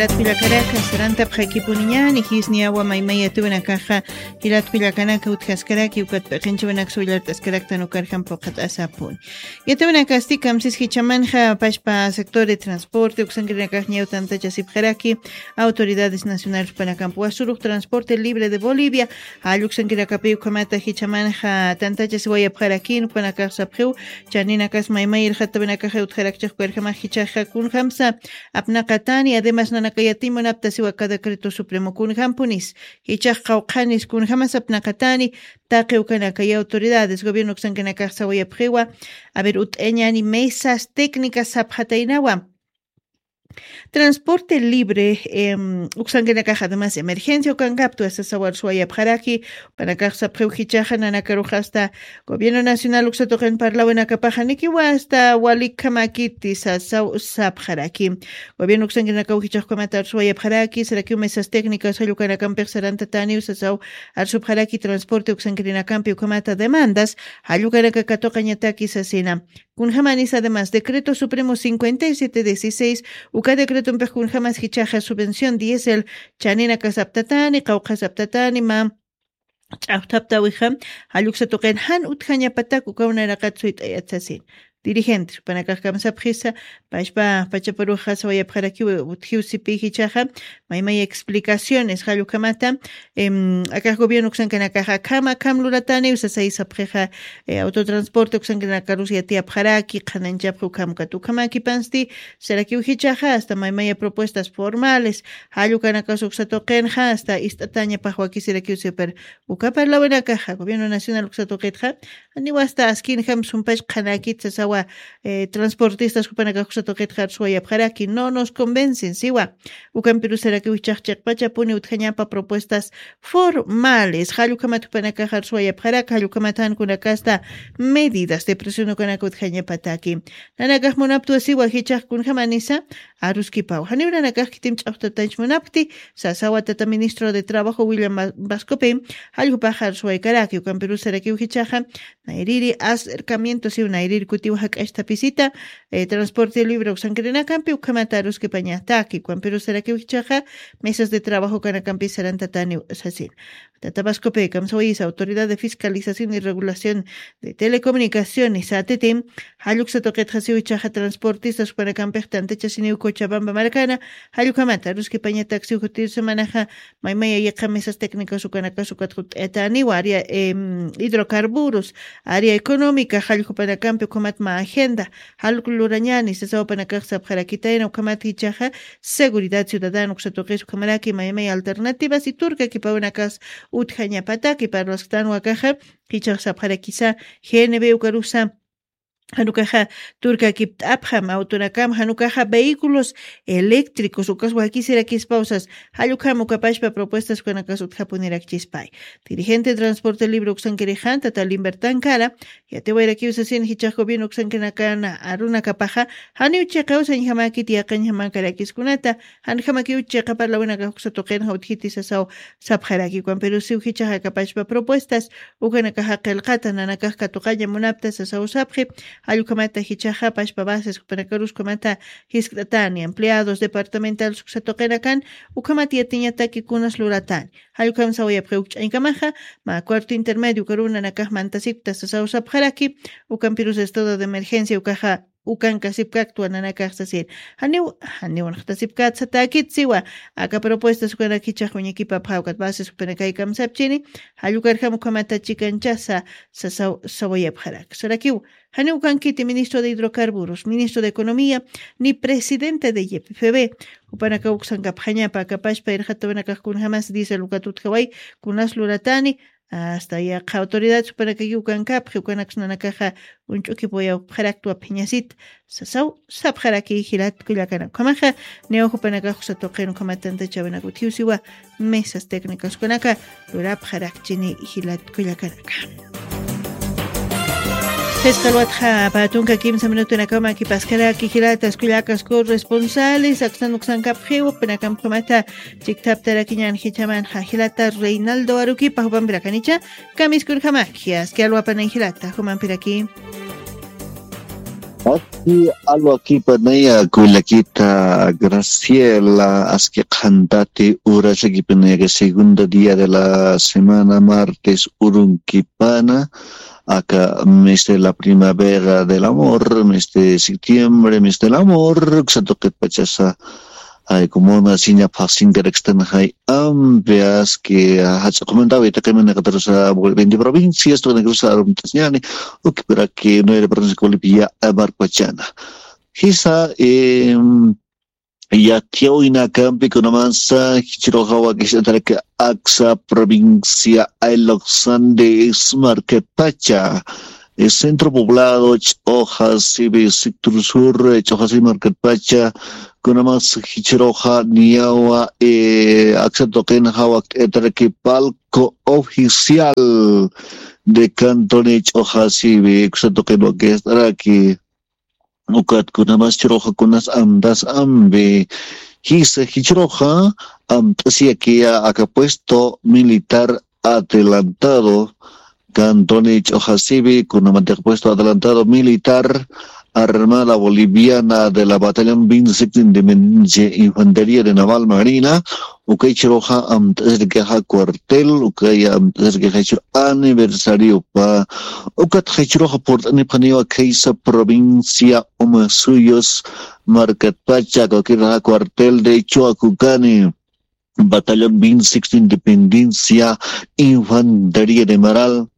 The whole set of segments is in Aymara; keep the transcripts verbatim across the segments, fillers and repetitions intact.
Jilat kullakanaka, sarantapxakipuniñani, jisniyawa maymay yatiwanakaxa, jilat kullakanaka utjaskaraki, ukat p'iqinchiwanaksa willart'askaraktan ukarjam puqat'asapuni. Yatiwanakasti kamsis jichhamanxa pachpa sector de transporte uksankirinakax ñaw tantachasipxaraki, autoridades nacionales panakampuwa surux transporte libre de Bolivia, jall uksankirakapi ukhamata jichhamanxa tantachasiwayapxaraki, ukanakax sapxiw, chaninakas maymay irxatawinakaxa utjarakchix ukarjamax jichhaxa kunjamsa apnaqatani, además nanaka yatiñ munaptasiwa aka decreto supremo kunjampunis, jichhax qawqhanis kunjamas apnaqatani, taqi ukanakay autoridades gobierno uksankinakax sawayapxiwa, a ver, ut'añani mesas técnicas sapxataynawa. Transporte libre, em, uksankinakax además emergencia ukankaptwa sasawar suwayapxaraki, ukanakax sapxiw jichhaxa nanakaruxa hasta gobierno nacional uksa tuqin parlawinakapaxa nikiwa hasta walikhamakiti sasaw sapxaraki. Gobierno uksankinakaw jichhax ukhamata arsuwayapxaraki, sarakiw mesas técnicas jall ukanakampix sarantataniw sasaw arsupxaraki transporte uksankirinakampi ukhamata demandas, jall ukanaka katuqañataki sasina. Kunjamanis además decreto supremo cincuenta y siete dieciséis, uka decretompix kunjamas jichhaxa subvención diésel, chaninakas aptatani, qawqhas aptatani, ma ch'awthaptawixa, jall uksa tuqin jan utjañapatak ukaw nayraqat suyt'ayat sasin. Dirigentes, upanakax kamsapxisa, pachpa, pachaparuxa sawayapxarakiw, utjiw sipi jichhaxa, maymay explicaciones, jall ukhamata, em, akax gobierno uksankanakaxa, akham, akham lulataniw sasay sapxixa, eh, autotransporte uksankanakarusa yatiyapxaraki, qhananchapxi ukham ukat ukhamakipansti, sarakiw jichhaxa, hasta maymaya propuestas formales, jall ukanakas uksa tuqinxa, hasta ist'atañapax wakisirakiw sipir, uka parlawinakaxa, gobierno nacional uksa tuqitxa, janiw hasta askinjam sumpach qhanakit sasawa, eh, transportistas jupanakax uksa tuqitxa arsuwayapxaraki, no nos convencen, siwa. Ukampirusarakiw jichhax chiqpachapuni utjañapa propuestas formales. Jall ukhamat jupanakax arsuwayapxaraki, jall ukhamat jan kunakasta medidas de presión ukanaka utjañapataki. Nanakax munaptwa siwa jichhax kunjamanisa, aruskipaw. Janiw nanakax khitim ch'awtatañch munapkti, sasawa tata ministro de Trabajo William Va-, Vascope, jall jupax arsuwaykaraki, ukampirusarakiw jichhaxa, nayriri acercamiento siw nayriri kutiw jak'achthapisita, eh, transporte libre uksankirinakampi, ukhamata aruskipañataki, ukampirusarakiw jichhaxa, mesas de trabajo ukanakampi sarantataniw sasin. Tata Vascope, kamsawayisa, Autoridad de Fiscalización y Regulación de Telecomunicaciones, A T T, jall uksa tuqitxa siw jichhaxa transportistas jupanakampix tantachasiniw Cochabamba markana, jall ukhamata aruskipañatak siw jutir semanaxa, maymaya yiqa mesas técnicas ukanakas ukat jut'ayataniwa, área, em, hidrocarburos, área económica, jall jupanakampi ukhamat mä agenda, jall lurañani, sasaw jupanakax sapxarakitayna, ukhamat jichhaxa, seguridad ciudadana uksa tuqis ukhamaraki maymay alternativas y turka kipawinakas utjañapataki parlasktänwa akaxa, jichhax sapxarakisa, G N B ukarusa, jan ukaxa turkakipt'apxam, autonakam, jan ukaxa vehículos eléctricos, ukas wakisirakispaw sas, jall ukham uka pachpa propuestas ukanakas utjapunirakchispay. Dirigente de Transporte Libre uksankirixan, tata Limbertan Cara, yatiwayrakiw sasin jichhax gobierno uksankirinakana arunakapaxa, janiw chiqaw sañjamakit yaqañjamäkarakiskunata, janjamakiw chiqa parlawinakax uksa tuqinxa utjiti sasaw sapxaraki, ukampirusiw jichhax aka pachpa propuestas ukanakaxa qillqata nanakax katuqaña munapta sasaw sapxi, jall ukhamata jichhaxa pachpa bases jupanakarus ukhamata jiskt'atani, empleados departamentales uksa tuqinakan, ukhamat yatiñataki kunas luratani. Jall ukham sawayapxi uk ch'añkamaxa, mä cuarto intermedio ukaruw nanakax mantasipkta sasaw sapxaraki, ukampirus estado de emergencia ukaxa, ukankasipkaktwa nanakax sasir. Janiw, janiw naqtasipkat satäkit siwa, aka propuestas ukanak jichhax uñakipapxä ukat bases jupanakay kamsapchini, jall ukarjam ukhamata chikanchasa, sasaw, sawayapxarak. Sarakiw, janiw ukankiti ministro de Hidrocarburos, ministro de Economía, ni presidente de Y P F B, jupanakaw uksankapxañapa, aka pachpa irxatawinakax kunjamas diésel ukat utjaway, kunas luratani, hasta yaqha autoridad jupanakakiw ukankapxi, ukanaks nanakaxa uñch'ukipuyapxaraktwa phiñasit, sasaw sapxaraki jilat kullakanaka. Ukhamaxa, niyaw jupanakax uksa tuqin ukhamat tantachäwinak utjiw siwa, mesas técnicas ukanaka lurapxarakchini jilat kullakanaka. Jisqa alwatxa pä tunka kimsa minutunakaw mäkipaskaraki jilatas kullakas corresponsales, akstan uksankapxiw, jupanakam ukhamata chikthaptarakiñän jichhamanxa jilata Reinaldo Aruquipa, jupampirakiña, kamiskunjamaki, aski alwapanan jilata, jupampiraki. Aski alwakipanaya kullakita Graciela, aski qhantati urasakipinaya, segunda día de la semana, martes urunkipana, aka mes de la primavera del amor, mes de septiembre, mes del amor, uksa tuqitpachasa. Ay, como una siña pasin karakstanxay ambias que hach'a comentaba y taqimina katarusa veinte provincias, toda cruz arumtasñani, ukipiraki nueve provincias Bolivia, marpachana. Jisa, em, yatiyawinakampi kunamasa, jichruxa wakishataraki aksa provincia Ayloqsan de Ismarketpacha, eh, centro poblado, Ch'oja Sibi, sector sur, eh, Ch'oja Sibi Marketpacha, kunamas jichruxa niyawa, eh, aksa tuqinxa wakt'ataraki palco oficial de Cantón Ch'oja Sibi, aksa tuqin wakt'ataraki. Ukat kunamas jichruxa kunas amtas ambi. Jisa jichruxa amt'asiyakiya aka puesto militar adelantado, Cantón Ch'oja Sibi, kunamatixa puesto adelantado militar Armada Boliviana de la Batallón veintiséis de Independencia Infantería de Naval Marina, ukay jichruxa amt'asirkixa cuartel, ukay amt'asirkixa jichru aniversariopa, ukat jichruxa purt'anipxaniwa khaysa provincia Omasuyos markatpacha, cualquier cuartel de Choacocani, Batallón veintiséis de Independencia, Infantería de Maral,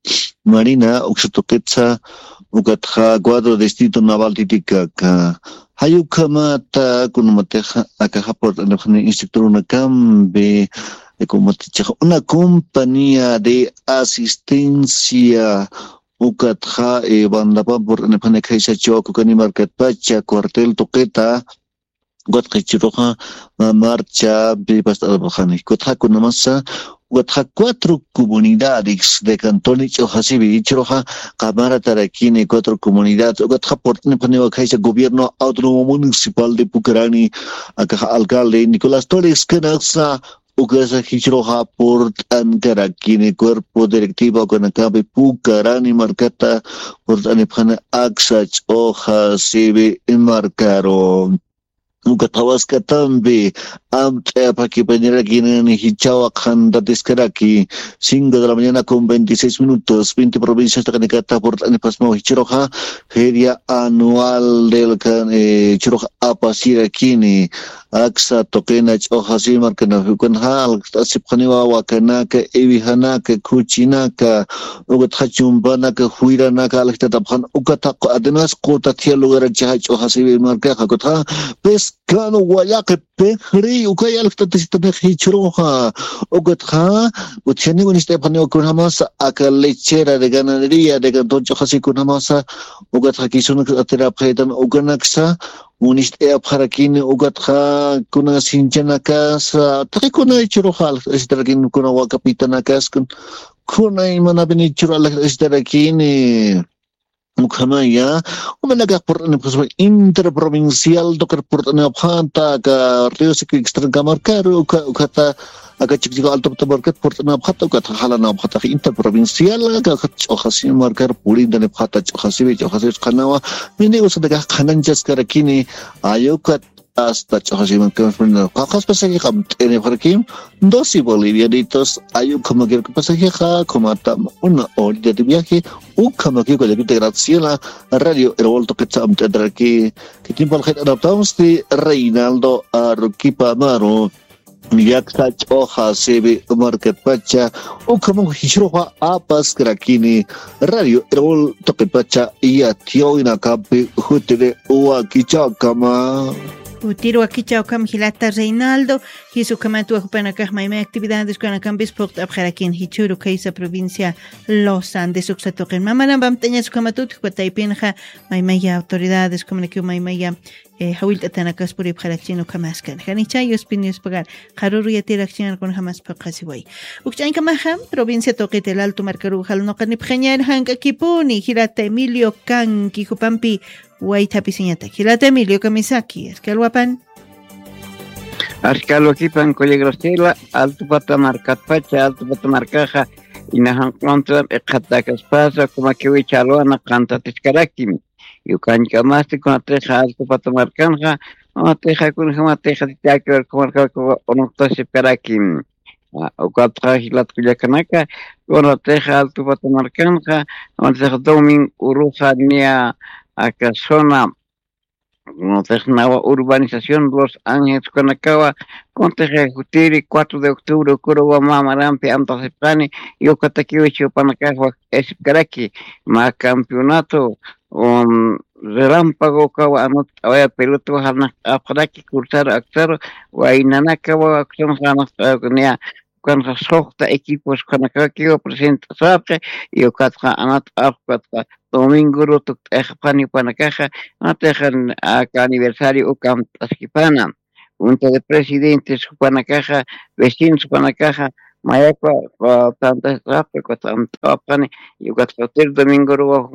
Marina, uksa tuqitsa, ukatxa cuadro distrito naval Titicaca. Jayukhamata, kunamatixa, akaxa purt'anipxani instructor unakampi, kunamatixa, una compañía de asistencia, ukatxa, eh, bandapa purt'anipxani khaysa Choacocani markatpacha, cuartel tuqita, ukatxa jichruxa, ma-, marcha, pipast'arapxani. Ukatxa kunamasa, ukatxa cuatro comunidades de Cantón Ch'oja Sibi, jichruxa, qamaratarakini cuatro comunidades, ukatxa purt'anipxaniwa khaysa gobierno autónomo municipal de Pucarani, akaxa alcalde Nicolás Torres Canaxa, ukasa jichruxa purt'ankarakini cuerpo directivo ukanakapi Pucarani markata purt'anipxani aksa Ch'oja Sibi markaru. Ukat waskatampi amt'ayapxakipañarakinani jichhawa qhantatiskaraki, cinco de la mañana con veintiséis minutos, veinte provincias taqanikata purt'anipxasmaw jichruxa, feria anual del can-, eh, jichruxa apasirakini, aksa tuqina Ch'oja Sibi markanapi, ukanxa alqt'asipxaniwa wakanaka, iwijanaka, khuchinaka, ukatxa chumpanaka, juyranaka alqtatapxan, ukatxa además qutathiya lugarachixa Ch'oja Sibi markaxa, ukatxa pescado wayaqi, pixri, ukay alqt'atasitanix jichruxa, ukatxa utjaniw uñist'ayapxaniwa kunjamasa aka lechera de ganadería de Cantón Ch'oja Sibi kunjamasa, ukatxa kisunak atirapxaytan ukanaksa, uñist'ayapxarakini, ukatxa kuna sinchanakas, taqi kuna jichruxa alqt'asitarakini, kuna wakapitanakas, kun-, kuna imanapini jichru alqt'asitarakini. Ukhamaya, umanakax purt'anipxaspa interprovincial tuqir purt'anipxata, aka Río Seco Extracto markaru, uka-, ukhata, aka Chiquichico Alto Puerto markat purt'anipxata, ukatxa jalanipxata interprovincial, aka, aka Ch'oja Sibi markar purintanipxata, Ch'oja Sibi, Ch'oja Sibi qhanawa, mini usanakax qhananchaskarakini, ayukat hasta Ch'oja Sibi markar purintanipxata, qawqhas pasaje qamt'inipxarakim, doce bolivianitos, ay ukhamakiruki pasajexa, ukhamatam una horita de viaje, ukhamakiruki David Graciela, Radio Erol tuqitsa amt'ataraki, khitimpa alqit anaptamsti Reinaldo Aruquipa Amaru. Llakta Ch'oja Sibi markatpacha, ukhaman jichruxa apaskarakini, Radio Erol tuqitpacha, yatiyawinakampi, jutiri wakichawkama. Jutiri wakichawkama jilata Reinaldo, jis ukhamat jupanakax maymay actividades ukanakampis phuqt'apxarakin jichhüru khaysa provincia Los Andes uksa tuqin. Mamanan pamt'añas ukhamatut, jupa taypinxa maymaya autoridades, ukhamanakiw maymaya, eh, jawillt'atanakas puripxarakchin ukhamaskan. Janicha yuspin yuspagar, qharüru yatirakchinarkun jamas phuqhasiway. Ukch'añkamaxa, provincia tuqit El Alto markaru jal nuqanipxañar jank'akipuni, jilata Emilio Canqui jupampi waythapisiñatak. Jilata Emilio, kamisaki, aski alwapan. Aski alwakipan, kullak Graciela, Alto Pata markatpacha, Alto Pata markaxa, ina janq'unta, iqhatakaspasa, ukhamakiw jichha alwana qantatiskaraki. Yukankamasti kunatixa Altupata markanxa, kunatixa kunjamatixa titakiwar kumarkakuwa unuqtasipkarakim. Ukatxa jilat kullakanaka, kunatixa Altupata markanxa, kunatixa Domingo Uruxa niya aka zona, kunatixa nawa urbanización Los Ángeles kunakawa, kunatixa jutiri cuatro de octubre ukuru wama marampi amtasipxani, yukatakiwa chupanakax wak esipkaraki, mä campeonato, um, relámpago kawa anut awaya pelota wajarnak apxaraki, kursaru aksaru, waynanakawa aksanxa anak niya, ukanxa suxta equipos ukanakakiwa present'asapxi, y ukatxa anat apxkatxa domingo rutuk t'exapxani upanakaxa, anatixa aka aniversario ukamt'askipana. Junta de presidentes jupanakaxa, vecinos jupanakaxa, mayakwa tantasapxi, ukatxa amt'awapxani, y ukatxa hotel domingo ruwa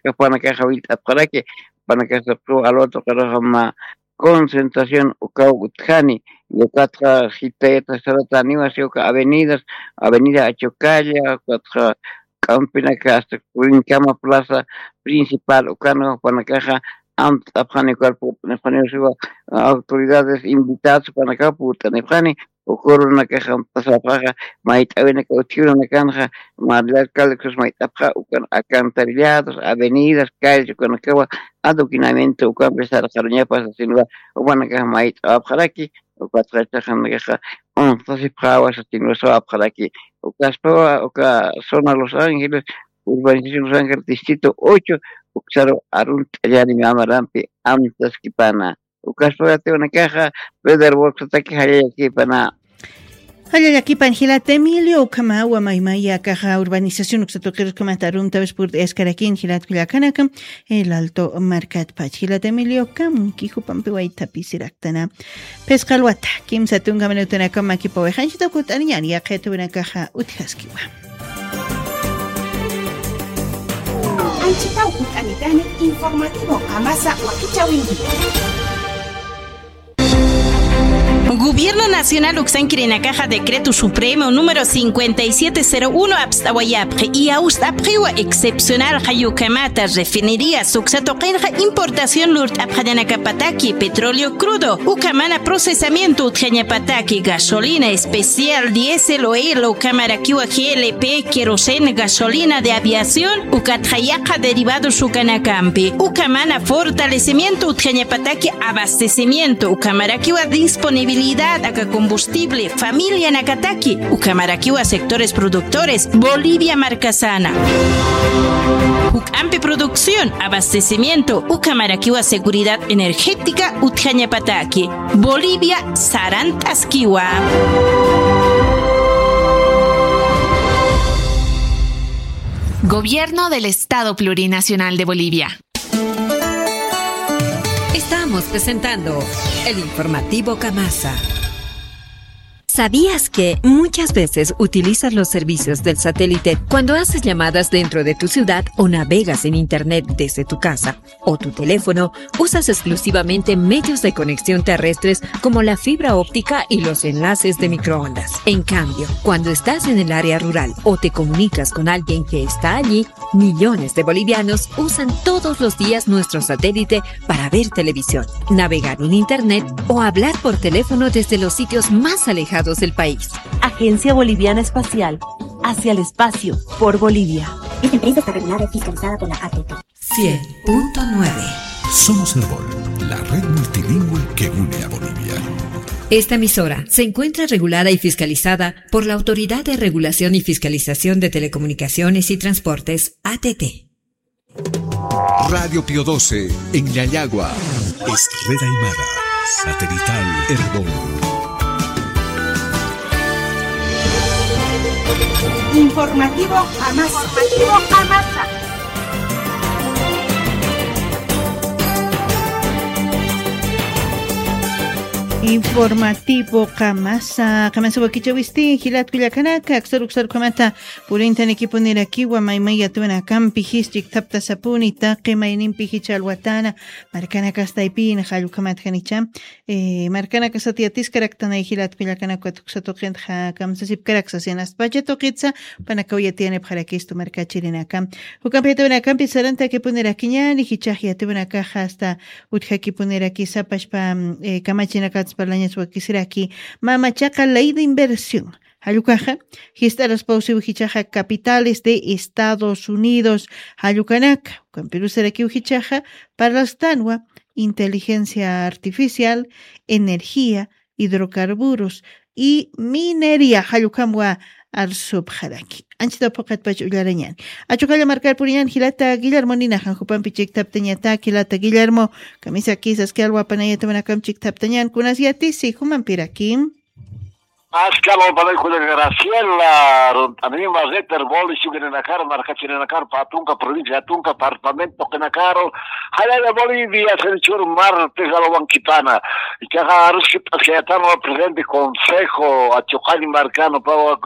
jupanakaxa willt'apxaraki, jupanakaxa Alberto Carroja mä concentración ukaw utjani, y ukatxa jitayata sarataniwa si uka avenidas, avenida Achocalla, ukatxa k'ampinaka hasta Curincama plaza principal ukanwa jupanakaxa amt'apxani, ukar purt'anipxaniwa siwa autoridades invitadas jupanakawa purt'anipxani, ukurunakaxa amt'asapxaxa, mayt'awinaka utjirunakanxa, María Alcalde Cruz mayt'apxa, ukan alcantarillados, avenidas, calles ukanakawa adoquinamiento ukampi sarqaruñapa sasinwa, jupanakaxa mayt'awapxaraki, ukatxa ichaxanakaxa unxtasipxawa sasinwa sawapxaraki. Ukaspawa uka zona Los Ángeles, urbanización Los Ángeles, distrito ocho, uksaru arunt'allani mä marampi amtaskipana. Ukaspawa yatiwanakaxa Pedro Boxataki jallallakipana. Jallallakipan jilat Emilio, ukhamawa maymaya akaxa urbanización uksa tuqiruskamata arumtawis purt'ayaskarakini jilat kullakanaka, El Alto markatpach. Jilat Emilio, kamki jupampi waytapisirak. Tana, phisqa alwata, kimsa tunka minutunakaw makipawayxanchita kut'aniñan, yaqhita ukanakaxa utjaskiwa. Anchitaw kut'anitani, informativo Qamasa wakichäwinki. Gobierno Nacional uksankirinakaxa Decreto Supremo número cincuenta y siete cero uno apst'awayapxi, y awst'apxiwa excepcional jayukamata refinerías uksa tuqinxa importación lurt'apxañanakapataki, petróleo crudo, ukhamana procesamiento utjañapataki, gasolina especial, diésel, oil, ukhamarakiwa G L P, queroseno, gasolina de aviación, ukatxa yaqha derivados ukanakampi, ukhamana fortalecimiento utjañapataki, abastecimiento, ukhamarakiwa disponibilidad aka combustible familianakataki, ukhamarakiwa sectores productores, Bolivia markasana. Juk'ampi producción, abastecimiento, ukhamarakiwa seguridad energética utjañapataki, Bolivia sarant'askiwa. Gobierno del Estado Plurinacional de Bolivia. Estamos presentando el informativo Kamasa. ¿Sabías que muchas veces utilizas los servicios del satélite cuando haces llamadas dentro de tu ciudad o navegas en internet desde tu casa o tu teléfono? Usas exclusivamente medios de conexión terrestres como la fibra óptica y los enlaces de microondas. En cambio, cuando estás en el área rural o te comunicas con alguien que está allí, millones de bolivianos usan todos los días nuestro satélite para ver televisión, navegar en internet o hablar por teléfono desde los sitios más alejados del país. Agencia Boliviana Espacial, hacia el espacio, por Bolivia. Esta empresa está regulada y fiscalizada por la A T T. Cien punto nueve. Somos Erbol, la red multilingüe que une a Bolivia. Esta emisora se encuentra regulada y fiscalizada por la Autoridad de Regulación y Fiscalización de Telecomunicaciones y Transportes, A T T. Radio Pío doce, en Yayagua. Es red aymara, satelital Erbol. Informativo Amasa. Informativo Amasa. Informativo qamasa qamasa wakichawisti jilatku llakanaka aksaru uksaru kamata purintaniki punirakiwa maymay yatwanakampi jis chiktaptasapuni taqi maynimpi jicha alwatana markanakastaypina jallwkamatjanicha. Markanakasat yatiskaraktanay jilatku llakanaka tuksatuqinta kamsasipkaraksasin aspacha tuqitsa panakaw yatiyanipxarakistu markachirinaka. Jukampi yatwanakampi sarantakipunirakiñani jichax yatwanakaxa asta utjakipuniraki sapashpa kamachinakats parlañas wakisiraki. Mamachaqa ley de inversión jallukaxa jist'araspawsiw jichaxa capitales de Estados Unidos jallukanaka ukampirusarakiw jichaxa parlastanwa inteligencia artificial, energía, hidrocarburos y minería jallukamwa arsupxaraki. Anchita phuqatpach ullarañani achuqalla markar puriñan jilata guillermo ninaxan jupampi chiktaptañata jilata guillermo kamisaki saski alwapanayatamanakam chiktaptañan kunas yatisi jumampirakim. Askal wapanay kulla graciela runt'anima reter boli shukirinakar markachirinakar patunka provincia tunka departamento qinakaru jallalla bolivia senchur martes alwankipana. Ichaqa aruskip'askayatama presidente consejo achuqañ markano pawa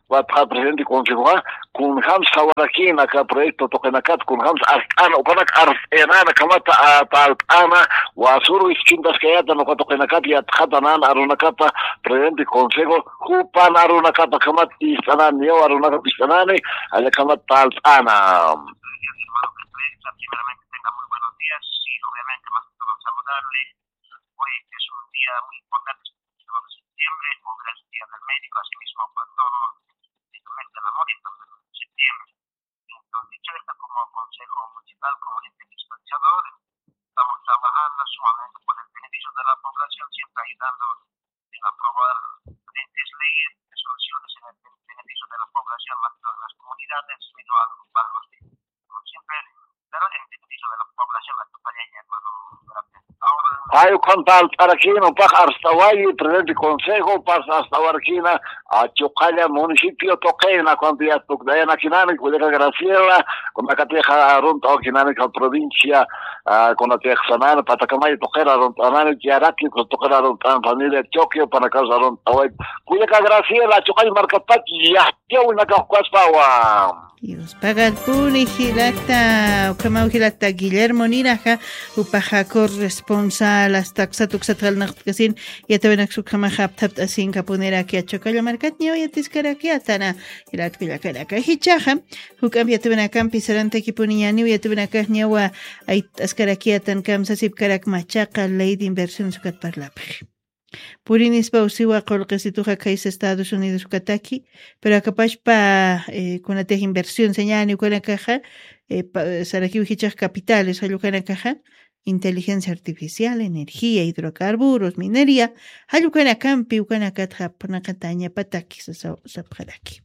watxa presidente consejoqa kunjams sawarakina aka proyecto tuqinakat kunjams art'ana ukanak art'inana kamata talt'ana wasuru iskimtaskayata nuka tuqinakat yatxatanan arunakata presidente consejo jupan arunakata kamata ist'anani yaw arunakata ist'anani allakamat talt'ana. Hoy es un día muy importante, es el día del médico, asimismo para todo el mes del amor y todo el mes de septiembre. Entonces, dicho esto, como consejo municipal, como ente fiscalizador, estamos trabajando sumamente por el beneficio de la población, siempre ayudando en aprobar diferentes leyes, resoluciones en el beneficio de la población, más que todo en las comunidades, sino a los barrios de, como siempre, pero en beneficio de la población, la compañía, hermano, gracias. Ay ukham palt'arakina upax arstawayi presidente consejo pas arstawarakina achuqalla municipio tuqina cuando ya tukdayanakinani kullaka graciela kunakatixa arunt'awakinani ka provincia kunatix sanani patakamay tuqira arunt'anani yaraki tuqira arunt'an familia choque panakas arunt'away kullaka graciela achuqalla markatpach yaqtiawinakaxkaspawa. Dios pagarpuni jilata ukhamaw jilata guillermo ninaxa upaxa corresponsal asta ksat uksat jalnaqtkasin yatawinaksa ukhamaxa apthapt'asinkapuniraki achukalla markatñaw yatiskarakyatana. Jilatkullakaraka jichaxa juk'amp yatawinakampi sarantakipuniñaniw yatawinakaxñawa ayt'askarakyatan kamsasipkarak machaqa ley de inversiones ukat parlapxi. Purinispa usiwa qullqisituxa khaysa estados unidos ukataki pero akapashpa kunatix inversión sañani ukanakaxa sarakiw jichax capitales jalla ukanakaxa inteligencia artificial energía hidrocarburos minería jalla ukanakampi ukanakatxa apnaqatañapataki sapxaraki.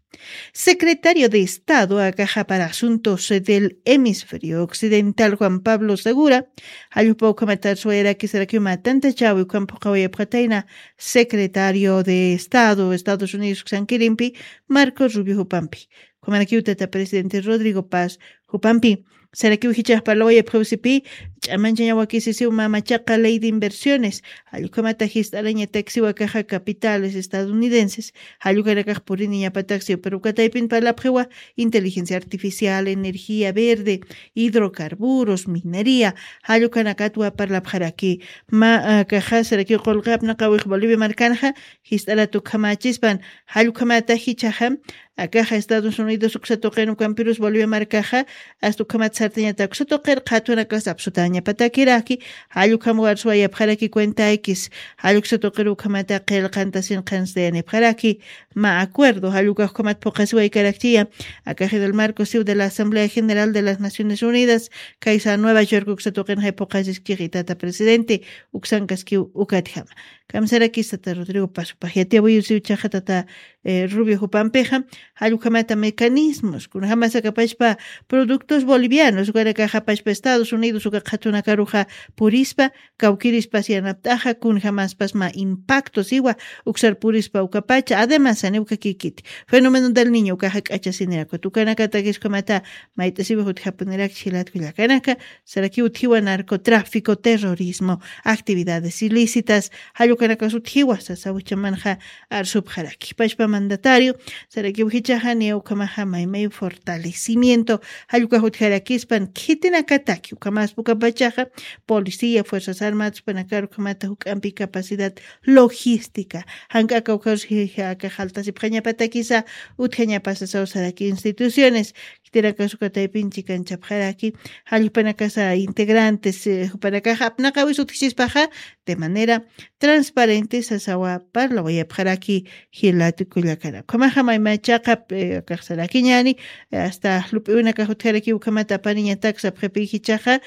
Secretario de estado akaxa para asuntos del hemisferio occidental juan pablo segura jallupa ukhamata arswayaraki sarakiw matanta chawi ukham phuqawayapxatayna secretario de estado estados unidos uksankirimpi marco rubio jupampi ukhamarakiw tata presidente rodrigo paz jupampi sarakiw jichax parlawayapxawsipi ch'amanchañawakisisiw mamachaqa ley de inversiones jallukhamata jist'arañataksiw akaxa capitales estadounidenses jallukanakax puriniñapataksiw pero ukataypin parlapxiwa inteligencia artificial energía verde hidrocarburos minería jallukanakatwa parlapxaraki. Ma akaxa sarakiw qullqi apnaqawix bolivia markanxa jist'arat ukhamachispan jallukhamata jichaxa akaxa estados unidos uksatuqin ukampirus bolivia markaxa asta ukhamat sartañata uksatuqir qhatwanakas apsutañapatakiraki jallukhamwa arswayapxaraki cuenta x jalluksatuqir ukhamata qillqantasin qhanstayanipxaraki. Ma acuerdo jallukax ukhamat phuqasiwaykarakchiya akaxidal marco siw de la asamblea general de las naciones unidas kaysa nueva york uksatuqin jay phuqasiskixi tata presidente uksankaskiw ukatjama. Kamsarakis tata rodrigo paz upax yatiyawiyusiw chaxa tata rubio jupampixa jallukhamata mecanismos kunajamasa kapashpa productos bolivianos ukanakaxapashpa estados unidos uka qhatunakaruxa purispa kawkirispas yanapt'axa kunajamaspas mä impacto siwa uksar purispa ukapacha además saniw kakikiti fenómeno del niño ukaxa k'achasinirakuta ukanakatakis ukhamata mayt'asiwix utjapunirakchi jilatkullakanaka sarakiw utjiwa narcotráfico terrorismo actividades ilícitas jalluka ukanakas utjiwa sasaw jichhamanxa arsupxaraki. Pachpa mandatario sarakiw jichhaxa niya ukhamaxa maymay fortalecimiento jallwkax utjarakispan khitinakataki ukhamas pukapachaxa policía, fuerzas armadas jupanakar ukhamata juk'ampi capacidad logística, jank'aka ukharus akax jaltasipxañapatakisa utjañapasasaw saraki instituciones. Khitinakasukataypin chikanchapxaraki jallpanakasa integrantes jupanakaxa apnaqawis utjchispaxa de manera transparente sasawa parlawayapxaraki. Jilatu kullakana ukhamaxa maymachaqa akaxsarakiñani hasta lup'iwinakax utjaraki ukhamata apaniñatak sapxipi jichhaxa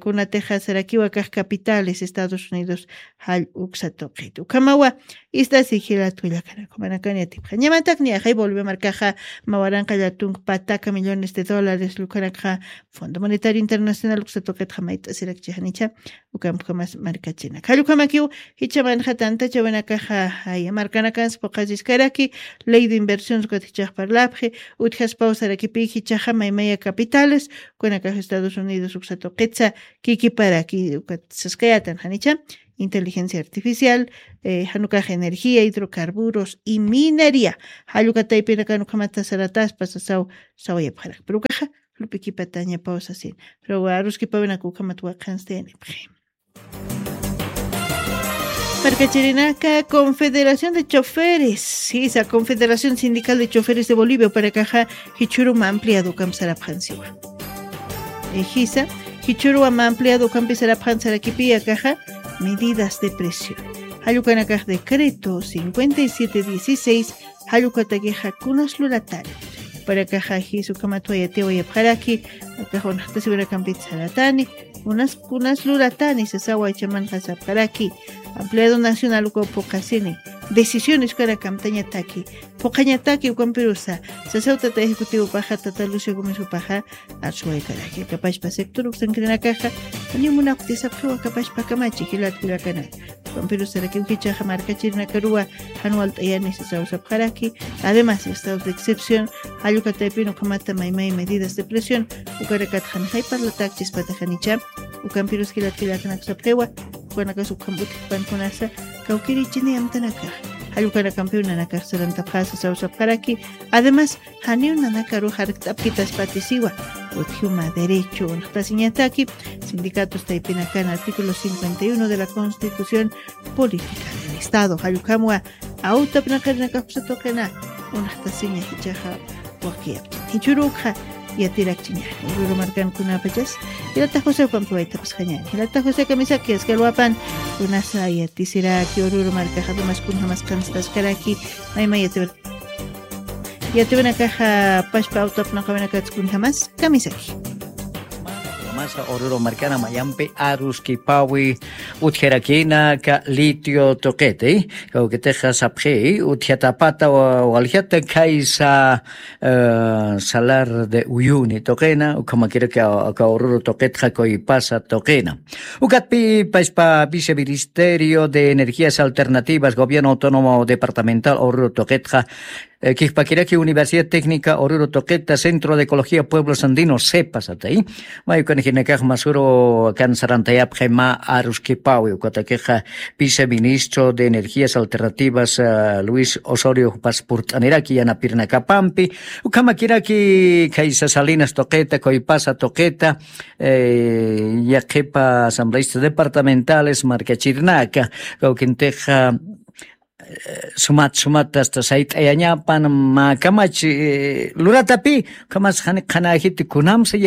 kunatixa sarakiwa akax capitales Estados Unidos jall uksa tuqit ukhamawa. Ist'asi jilatu kullakana ukhamanakani atipxañamatak niyaxay bolivia markaxa mawaranqa llatunk pataka millones de dólares lukhanakxa fondo monetario internacional uksa tuqitxa mayt'asirakchixanicha. Ukampkamas markachinak jallukamakiw jichhamanxa tantachawinakaxa aya markanakans puqasiskaraki ley de inversions ukat jichhax parlapxi utjaspaw sarakipi jichhaxa maymaya capitales kunakax estados unidos uksa tuqitsa kikiparaki ukat saskayatan janicha inteligencia artificial janukax energía hidrocarburos y minería. Jallukataypinakan ukhamata sarataspa sasaw sawayapxarak pero ukaxa lup'ikipatañapaw sasin pero aruskipawinaka ukhamat waqhansti yanipxi. Markachirinaka confederación de choferes jisa confederación sindical de choferes de bolivia upanakaxa jichhuruma ampliado ukampi sarapxansiwa. Jisa jichhuruma ampliado ukampi sarapxan sarakipi akaxa medidas de presión jallukanakax decreto cincuenta y siete dieciséis. Jallukatakixa kunas lulatani upanakaxa jisa ukhamat wayatiwayapxaraki akax unaxtasiwinakampit saratani unas kunas lulatani sasawa jichhamanxa sapxaraki. Ampliado nacional ukaw puqasini decisiones ukanakamtañataki puqañataki ukampirusa sasaw tata ejecutivopaxa tata lucio gómez upaxa arsuwaykaraki akapachpa sector uksankirinakaxa janiw munapxti sapxiw akapachpa kamachi jilat kullakanaka. Ukampirusarakiw jichhaxa markachirinakaruwa jan walt'ayani sasaw sapxaraki. Además estados de excepción jallukataypin ukhamata maymay medidas de presión ukanakat janxay parlatakchispata janicha. Ukampirus jilat kullakanaka sapxiwa ukanakas ukham utjpan kunasa kawkirichini amtanakax jallukanakampiw nanakax sarantapxasa sasaw sapxaraki. Además janiw nanakarux jarkt'apkitaspatisiwa utjiwma derecho unaxtasiñataki sindicatos taypinakan artículo cincuenta y uno de la constitución política del estado jallukhamwa awtapnaqarinakax uksa tuqina unaxtasiña jichhaxa. Wakiyapchin jichhurukxa yatirakchiñani ururu markankunapachas jilata josé ukampi waytapasxañani jilata josé kamisaki askalwapan kunasa yatisiraki ururu markaxa dumas kunjamas qhanstaskaraki. Mayma yatiwir yatiwinakaxa pashpa awtapnaqawinakatskun jamas kamisaki. Masa ururu markana mayampi aruskipawi utjarakinaka litio tuqiti kawkitixa sapxi utjatapata waljata khaysa salar de uyuni tuqina ukhamakiraki aka ururu tuqitxa kuypasa tuqina. Ukatpi pashpa viceministerio de energías alternativas gobierno autónomo departamental ururu tuqitxa kijpakiraki universidad técnica ururu tuqita centro de ecología pueblos andinos sepa satay. Mayukanajinakax masuru kansarantayapxi mä aruskipawi ukatakixa viceministro de energías alternativas luis osorio paspurt'aniraki yanapirinakapampi ukhamakiraki khaysa salinas tuqita kuypasa tuqita yaqhipa asambleistas departamentales markachirinaka kawkintixa sumat sumat asta sayt'ayañapan mä kamachi luratapï ukhamas jani qhanäjiti kunamsa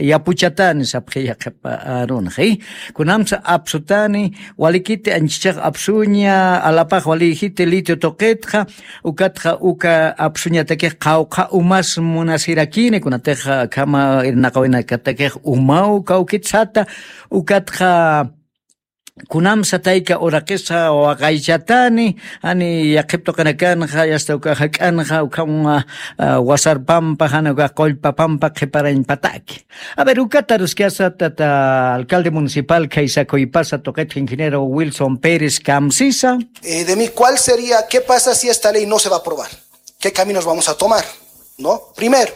yapuchatani sapxi yaqhipa arunxi kunamsa apsutani walikiti anchichax apsuña alapax walïjiti litio tuqitxa ukatxa uka apsuñatakix qawqha umas munasirakini kunatixa akhama irnaqawinakatakix umaw kawkitsata ukatxa kunamsa tayka uraqisa waqaychatani jani yaqhip tuqinakanxa yasta uka jak'anxa ukham wasarpampa jani uka qullpapampa qhiparañpataki. A ver ukata aruskasa tata alcalde municipal khaysa kuypasa tuqitxa ingeniero wilson pérez kamsisa. De mí cuál sería qué pasa si esta ley no se va a aprobar? ¿Qué caminos vamos a tomar? ¿No? Primero.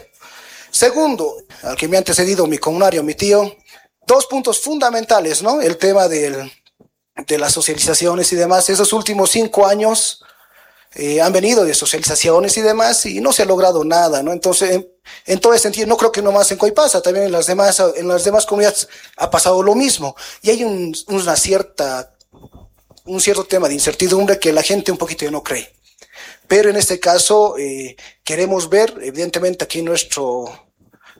Segundo, al que me ha antecedido mi comunario mi tío, dos puntos fundamentales, ¿no? El tema del de las socializaciones y demás, esos últimos cinco años, eh, han venido de socializaciones y demás, y no se ha logrado nada, ¿no? Entonces, en, en todo ese sentido, no creo que nomás en Coipasa, también en las demás, en las demás comunidades ha pasado lo mismo. Y hay un, una cierta, un cierto tema de incertidumbre que la gente un poquito ya no cree. Pero en este caso, eh, queremos ver, evidentemente aquí nuestro,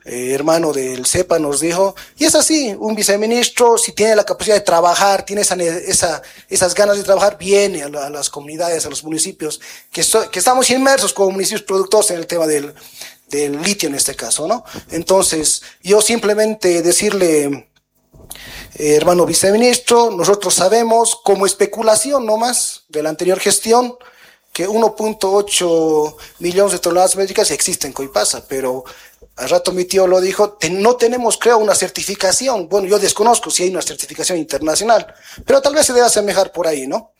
eh, hermano del CEPA nos dijo, y es así, un viceministro, si tiene la capacidad de trabajar, tiene esa ne-, esa, esas ganas de trabajar, viene a la, a las comunidades, a los municipios, que esto-, que estamos inmersos como municipios productores en el tema del, del litio en este caso, ¿no? Entonces, yo simplemente decirle, eh, hermano viceministro, nosotros sabemos, como especulación nomás de la anterior gestión, que uno punto ocho millones de toneladas métricas existen en Coipasa, pero al rato mi tío lo dijo, te-, no tenemos, creo, una certificación. Bueno, yo desconozco si hay una certificación internacional, pero tal vez se debe asemejar por ahí, ¿no?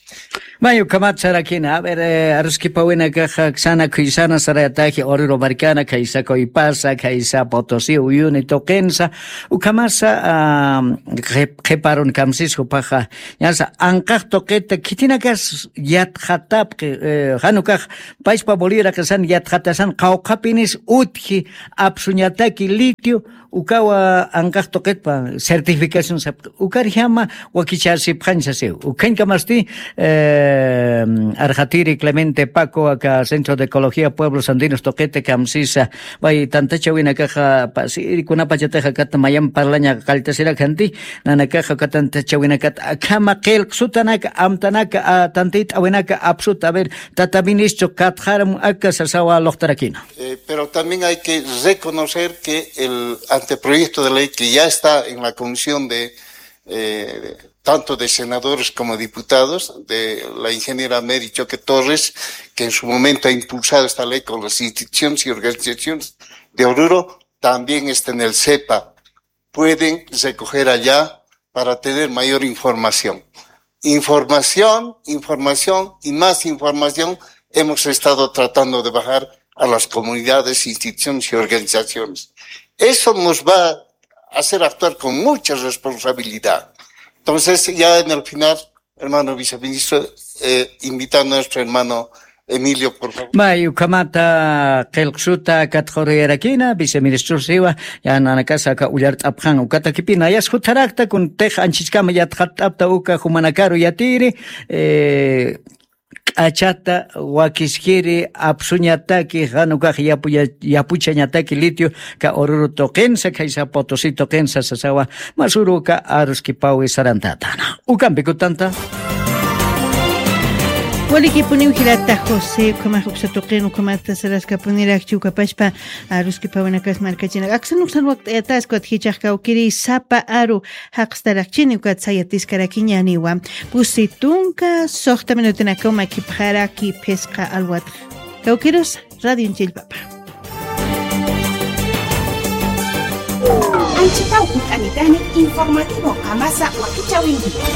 May, ukhamat sarakina. A ver, eh, aruskipawinakaxa, ksana khuysana sarayataji, Oruro markana, khaysa Coipasa, khaysa Potosí, Uyuni tuqinsa, ukhamasa, ah, qhip-, qhiparun kamsis jupaxa, ñasa, anqax tuqita, khitinakas yatxatapxi, eh, jan ukax, pachpa Bolivia raqisan yatxatasan, qawqhapinis utji, apsuñataki litio, ukawa anqax tuqitpa certificación sapxi. Ukarjama wakichasipxañsa siw. Ukhañkamasti, eh, arxatiri Clemente Paco, aka Centro de Ecología Pueblos Andinos tuqita kamsisa. Way tantachawinakaxa pasiri kunapachatixa kata mayam parlaña qalltasirakhanti, nanakaxa aka tantachawinakat akhama qillqsutanaka, amtanaka, a, tantit'awinaka apsuta. A ver, tata ministro, katxaram aka sasawa luqtarakina. Eh, pero también hay que reconocer que el anteproyecto de ley que ya está en la comisión de, eh, tanto de senadores como diputados, de la ingeniera Mary Choque Torres, que en su momento ha impulsado esta ley con las instituciones y organizaciones de Oruro, también está en el CEPA. Pueden recoger allá para tener mayor información. Información, información y más información hemos estado tratando de bajar a las comunidades, instituciones y organizaciones. Eso nos va a hacer actuar con mucha responsabilidad. Entonces, ya en el final, hermano viceministro, eh, invitando a nuestro hermano Emilio, por favor. May, ukhamata qillqsuta katxuruyarakina, viceministro siwa, ya nanakasa aka ullart'apxan, ukatakipina, yas jutharakta, kuntix anchichkama yatxatt'apta uka jumanakaru yatiri, eh, k'achata wakiskiri apsuñataki, jan ukax yapuya-, yapuchañataki litio, ka Oruro tuqinsa, khaysa Potosí tuqinsa sasawa, masüruka aruskipawi sarantatana. Ukampi kutanta. Walikipuniw jilata José, ukhamax uksa tuqin, ukhamata saraskapunirakchi ukapachpa, aruskipawinakas markachinak. Aksan uksan wakt'ayataskwa, jichhax kawkiri sapa aru jaqstarakchini ukat sayatiskarakiñäniwa. Pusi tunka suxta minutinakaw makipxaraki phisqa alwatx. Kawkirusa, Radio Chillpapa. Anchitaw jut'anitani informativo Qamasa wakichäwinkiwa.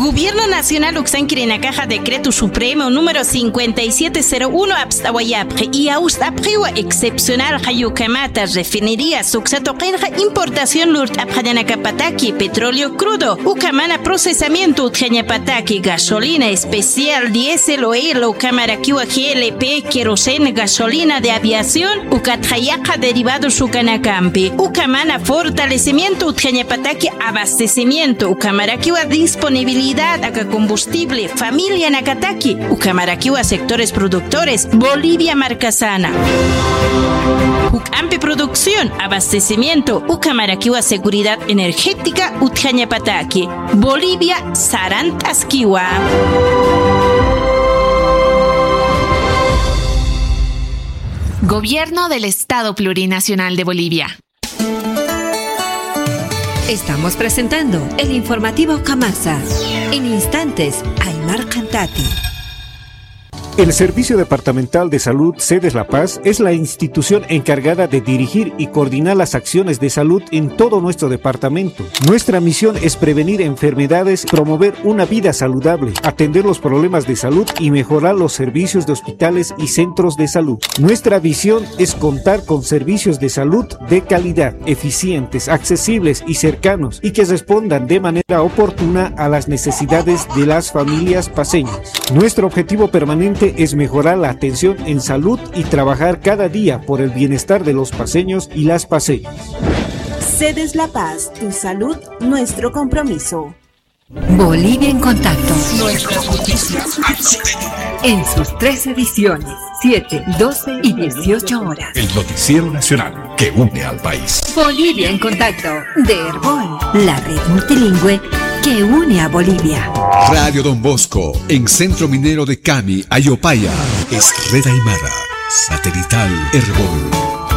Gobierno Nacional uksankirinakaxa Decreto Supremo número cincuenta y siete cero uno apst'awayapxi, y awst'apxiwa excepcional jayukamata refinería suksa tuqinxa importación lurt'apxañanakapataki petróleo crudo, ukhamana procesamiento utjañapataki gasolina especial, diésel, oil, ukhamarakiwa G L P, queroseno, gasolina de aviación, ukatxa yaqha derivados ukanakampi, ukhamana fortalecimiento utjañapataki abastecimiento, ukhamarakiwa disponibilidad aka combustible familianakataki, ukhamarakiwa sectores productores Bolivia markasana. Juk'ampi producción, abastecimiento, ukhamarakiwa seguridad energética utjañapataki. Bolivia sarant'askiwa. Gobierno del Estado Plurinacional de Bolivia. Estamos presentando el informativo Qamasa. En instantes, Aymar Cantati. El Servicio Departamental de Salud Sedes La Paz es la institución encargada de dirigir y coordinar las acciones de salud en todo nuestro departamento. Nuestra misión es prevenir enfermedades, promover una vida saludable, atender los problemas de salud y mejorar los servicios de hospitales y centros de salud. Nuestra visión es contar con servicios de salud de calidad, eficientes, accesibles y cercanos, y que respondan de manera oportuna a las necesidades de las familias paceñas. Nuestro objetivo permanente es mejorar la atención en salud y trabajar cada día por el bienestar de los paceños y las paceñas. Sedes La Paz, tu salud, nuestro compromiso. Bolivia en Contacto. Nuestras noticias. En sus tres ediciones, siete, doce y dieciocho horas. El noticiero nacional que une al país. Bolivia en Contacto, de Erbol, la red multilingüe que une a Bolivia. Radio Don Bosco, en Centro Minero de Cami, Ayopaya. Es red aymara, satelital Erbol.